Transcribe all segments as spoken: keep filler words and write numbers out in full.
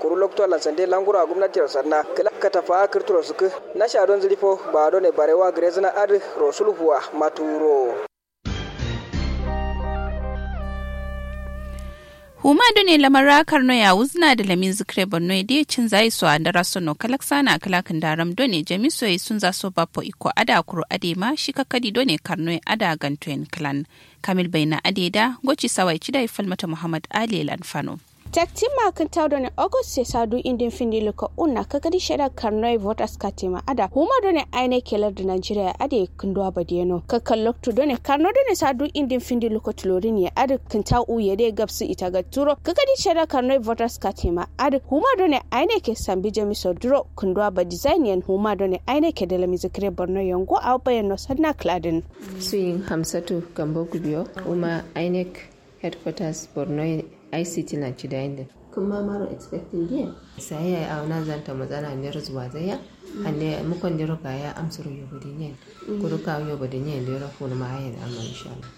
Kuru loktu allan sande languro a gomnatiro sanna kǝla katafa kǝrturo sǝkkǝ. Nasha don zǝri fo ba done barewa gǝrezǝna adǝ rosulfuwa maturo. Huma done lamara karno ya wuzna da lamin zikre borno ya de cin zai so andara sono kalaksana kalakin daram done jamiso ya sunza so bapo iko ada kuro ade ma shi kakadi done karno ya ada ganto yan klan. Kamil baina ade da goci sawai cidai falmata muhammad ali lanfano. Taktin ma kǝntaw done august se sadu indin findi luko unna kakadi sheda karnoi votas katima ada huma done aine kelar da nigeria ade kǝnduwa badiyeno kakkan loktu done karno done sadu indin findi luko tulorin ye ade kǝntaw u ye de gabsu ita ga turo kakadi sheda karnoi votas katima ade huma done aine ke sambi jamiso duro kǝnduwa badizain yen huma done aine ke dalami zikire borno yengo awo bayanno sadna kladin. Suyin hamsatu gambo gubiyo uma inec headquarters borno ict na cidayin din. Kuma maro expecting din sai ya auna zanta mazana ne ruzuwa zai ya ande mukon dero kaya amsuru yobo din yen kuru kawo yobo din yen dero funu ma yen amma inshallah.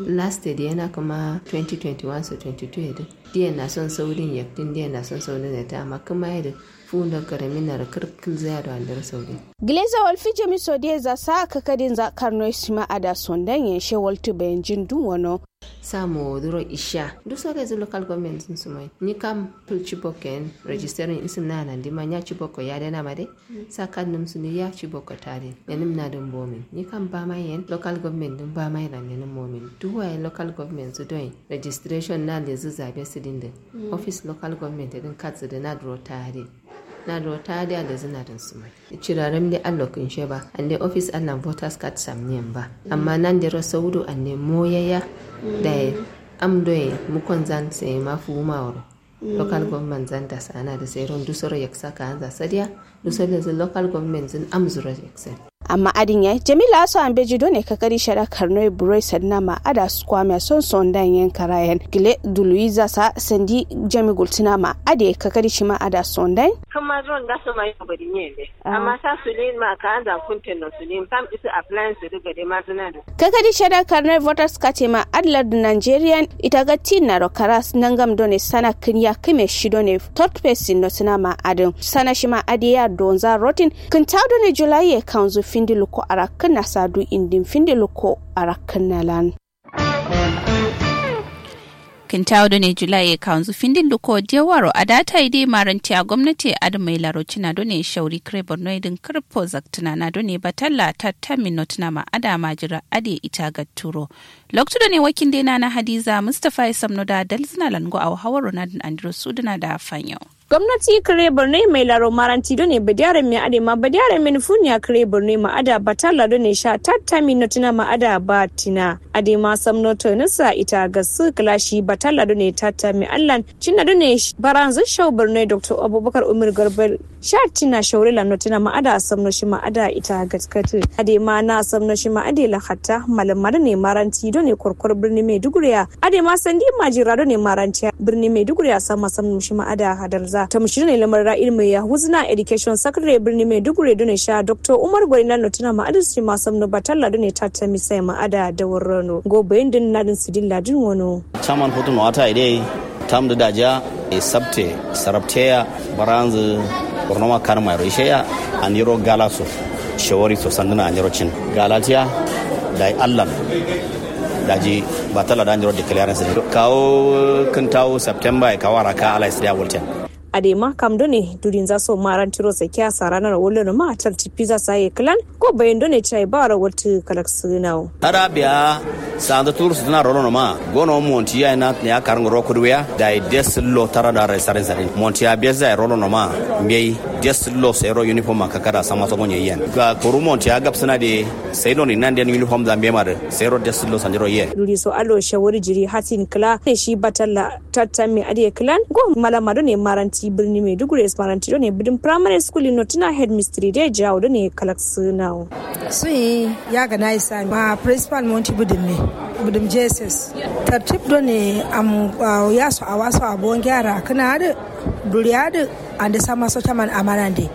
Last day yana kuma twenty twenty-one so twenty-two yedin diyan na son saudin yaktin diyan na son saudin yaktin amma kuma yedin fundo karamin na da kar kilza ya do andero saudin. Gleza walfi jami sodiye za sa kakadin za karno sima ada sondan yen she waltu bayan jin dun wano. Samo duro isha duso rezu local government zun sumai ni kam pil chibok yen registering isim na nan dima nya chibok ko ya dena ma de. Sa kad num suni ya chibok ko tadin lenim na dun bomin ni kam bama yen local government dun bama yen lenim momin duwa yen local government zu doin registration na lezu zabe sidin din. Office local government din kad zu dina duro tadin. Na duro tadin a lezu na dun sumai. Ciraram de allo kinshe ba ande office allan voters card samniyan ba amma nan dero saudu ande moyaya. Daye am doye mukon zan sai ma fuwuma wuro local government zan da sana da sai ron dusoro yaksa ka anza sadiya. Dusoro zan local government zan am zuro yaksa. Amma adin yayi jamila aso ambeji done kakari shada karnoi buroi sadna ma ada skwamiya son son dan yen karayen gile duluiza sa sandi jami gultuna ma ade kakari shima ada son dan. Kuma zon da su mai bari ne be amma sa su ne ma ka anza kunten no su ne kam isu appliance du gade ma zuna du. Kakadi shada karnoi voters katema adlar du nigerian ita ga tin naro karas nangam done sana kinya kime shi done third person no suna ma adin sana shima adiya donza rotin. Kintaw done july ye kanzu findi luko arakin na sadu indin findi luko arakin na lan. Kintawo done julai ye kawunzu findin luko diyawaro adata ide marantiya gomnati adǝ mai laro cina done shauri kǝre borno idin kǝrpo zaktǝna na done batalla tatta minno tǝna ma adǝ amajira adǝ ye ita gatturo. Loktu done wakinde nana hadiza mustapha ye samno da dalzǝna lango awo hawaro nadǝn andiro sudǝna da fanyo. Gomnati kǝre borno ye mai laro maranti done badiya ramme adǝ ye ma badiya ramme nǝfuniya kǝre borno ye ma adǝ batalla done sha tatta minno tǝna ma adǝ ba tina. Adema samno tonisa ita gasu kǝla shi batalla done tatta mi allan cinna done baranzǝ shau borno ye doctor abubakar umar garba sha tina shaure lanno tina ma ada samno shima ada ita gaskatu. Adema na samno shima ade la hatta malamma done maranti done korkor birni maiduguri ya adema sandi majira done maranti birni maiduguri ya sama samno shima ada hadalza tamshi done lamar ra'il mai ya huzna education secretary birni maiduguri done sha doctor umar gwari lanno tina ma adǝ shima samno batalla done tatta mi sai ma ada da warrano go bayin din nadin sidilla din wano. Chairman futu no ata ide tamdu daja e sabte sarabteya baranzu bornoma karma ro isheya. Andiro gala so shawari so sanduna andiro cin galatiya dai allan daji batalla da andiro declarance kawo kintawo september e kawo araka ala isriya walten. Adema kam done durinza so marantiro sakiya sarana ro wallono ma tarti pizza saye klan ko bayin done chai baro waltu kalak sinawo. Tara biya sanza turu sutuna rolo noma gono monti ya na ya karngo ro kuduya dai desillo tara da rai sarin sarin monti ya beza ya rolo noma mbei desillo sero uniform ma kakada sama so gonye yen ga kuru monti ya gapsuna de sai doni nan den uniform zambe ma de sero desillo sandiro yen. Duri so alo shawari jiri hatin kla ne shi batalla tatta me adǝ ye klan go malama done maranti birni maiduguri maranti done bǝdǝm primary school ino tǝna headmistress de jawo done kalak sinawo. Suyi ya gana isa ma principal monti bǝdǝm me bǝdǝm jss tartib done am ya so awa so abonge ara kǝna adǝ duri adǝ ande sama so caman amanande.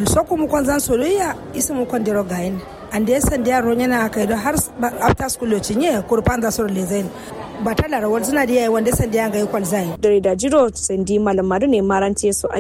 Soku mukon zan soloya isu mukon dero gayin. Ande sandiya ronyana akai do har after school lo cinye kuru panza soro lezain. Batalla ro walzina diya wande sandiya ngai kwalzai. Dare da jiro sandi malama done maranti so adǝ